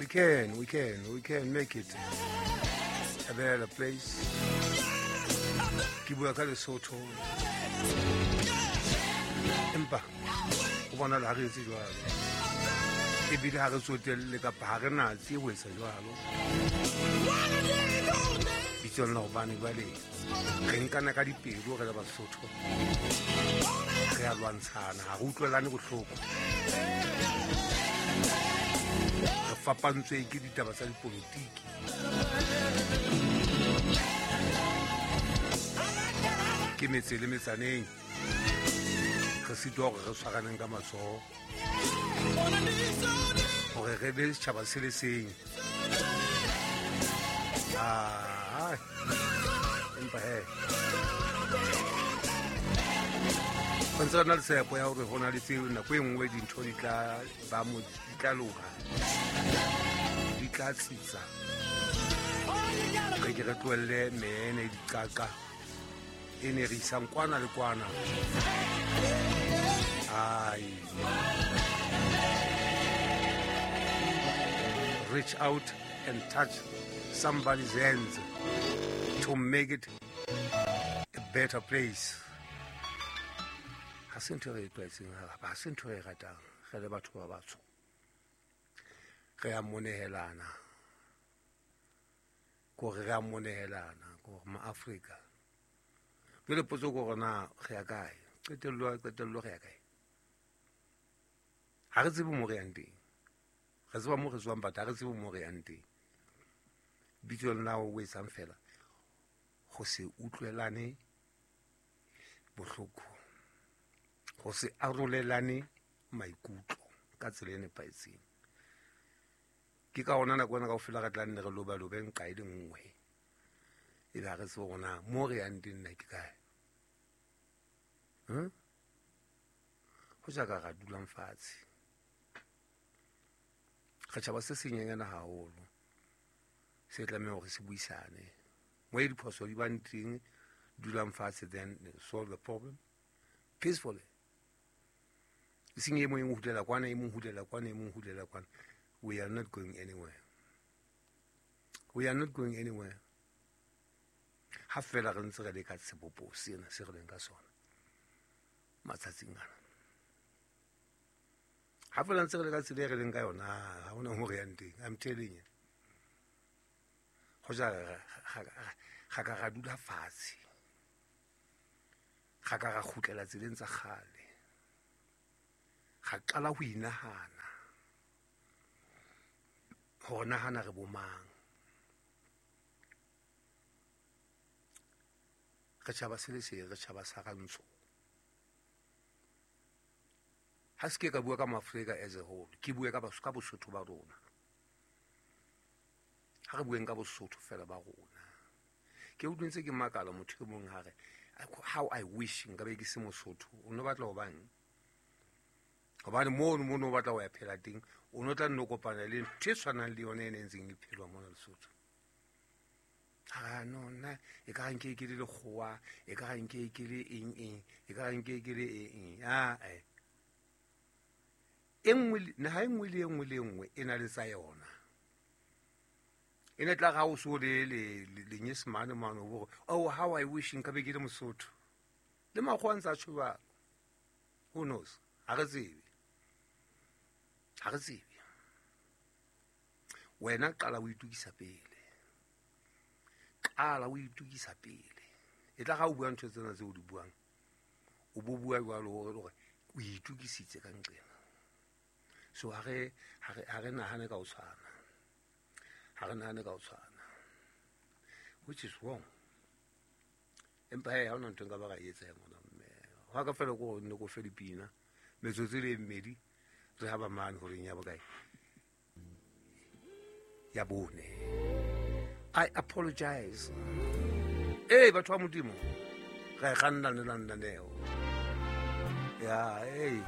We can make it a better place. Ke bua ka Lesotho, empa go bonala ha re etse jwalo, ebile ha re tsotelle kapa ha re natse ho etsa jwalo bitsong la gobane jwale re nkana ka dipelo re le Basotho, re a lwantshana, ha re utlwelane bohloko, re fapantswe ke ditaba tsa dipolotiki, ke metse le metsaneng re sitwa hore re tshwaraneng ka matsoho hore re be setjhaba se le seng. Ah, empa he go ntse re na le tshepo ya hore go na le tseo nako e nngwe dintho di tla ba mo, di tla loka, di tla tsitsa, re ke re tlohelle mene diqaqa e ne re isang kwana le kwana. Ai, reach out and touch somebody's hands to make it a better place. Ha se ntho e re e tlwaetseng, ha se ntho e re ratang re le batho ba batsho. Re a monehelana, kore re a monehelana, kore maAfrika. Jwale potso ke hore na re ya kae? Qetello, qetello, re ya kae? Ha re tsebe mo re yang teng. Re tseba mo re tswang, but ha re tsebe mo re yang teng. Bitsong la o etsang fela go se utlwelane bohloko, go se arolelane maikutlo ka tsela e nepahetseng. Ke ka ona nako ena kaofela re tla nne re lobalobe nqa e le nngwe, ebe ha re tsebe hore na mo re yang teng nna ke kae. Ho ja ka ra dulang fatshe, re tjhaba se senyenyana haholo se tlameha hore se buisane mo e diphoso di bang teng. Dulang fatshe, then solve the problem peacefully, e seng e mong e hulela kwana, e mong hulela kwana, e mong hulela kwana. We are not going anywhere, we are not going anywhere ha fela re ntse re le ka sebopo sena se re leng ka sona matsatsing ana. Ha fela ntse re le ka tsela e re leng ka yona, ha hona ho re yang teng. I'm telling you, ho ja ga ka ra dula fatshe, ga ka ra kgutlela tseleng tsa kgale, ga qala ho inahana hore nahana re bomang, re tjhaba se le seng, re tjhaba sa rantsho. Ha se ke ka bua ka Maafrika as a whole, ke bue ka ka Bosotho ba rona. Ha re bueng ka Bosotho fela ba rona. Ke utlwe ntse ke makala, motho e mong ha re, "How I wish nka be ke se Mosotho." O no batla ho bang? Hobane mono mo no batla ho ya phela teng, o no tla nno kopana le ntho e tshwanang le yona e ne ntseng e phelwa mona Lesotho. A no, nna e ka nke ke le lekgowa, e ka nke ke le eng eng, e ka nke ke le eng eng. A e e nngwe, naha e nngwe le e nngwe le e nngwe e na le tsa yona. E ne tla ga o so le lenyesemane mane, o bore, "Oh, how I wish nka be ke le Mosotho." Le makgowa ntse a tjho jwalo. Who knows? Ha re tsebe, ha re tsebe. Wena qala o itukisa pele, qala o itukisa pele. E tla ga o bua ntho tsena tse o di buang, o bo bua jwalo hore o itukisitse ka nqena. So ha re nahane ka ho tshwana, ha re nahane ka ho tshwana, which is wrong. Empa he, ha hona ntho nka ba ra etsa ya ngwana mme hwa ka fela ko nne ko fe dipina metsotso e le mmedi, re ha ba mane horeng ya bokae? Ya bone. I apologize. Ee, batho ba Modimo, ra e kganna le lenaneo ya ee.